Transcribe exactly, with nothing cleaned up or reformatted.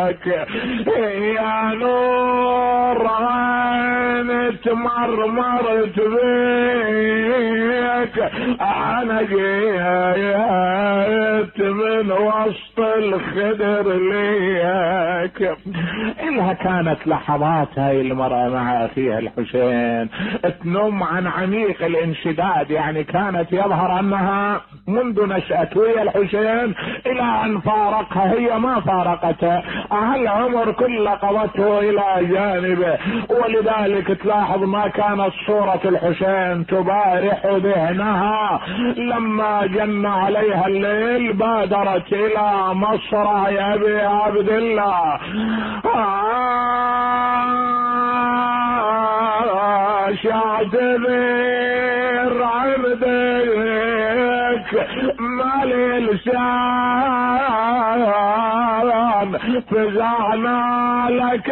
يا نور عين تمرمرت بيك، انا جيت من وسط الخدر ليك. إلها كانت لحظات هاي المرأة مع اخيها الحسين تنم عن عميق الانشداد، يعني كانت يظهر انها منذ نشأت ويا الحسين الى ان فارقها، هي ما فارقته، العمر كله قضته الى جانبه. ولذلك تلاحظ ما كانت صورة الحسين تبارح ذهنها، لما جن عليها الليل بادرت الى مصرع ابي عبد الله. شعتذر عبدك مالي لسان، فزعنا لك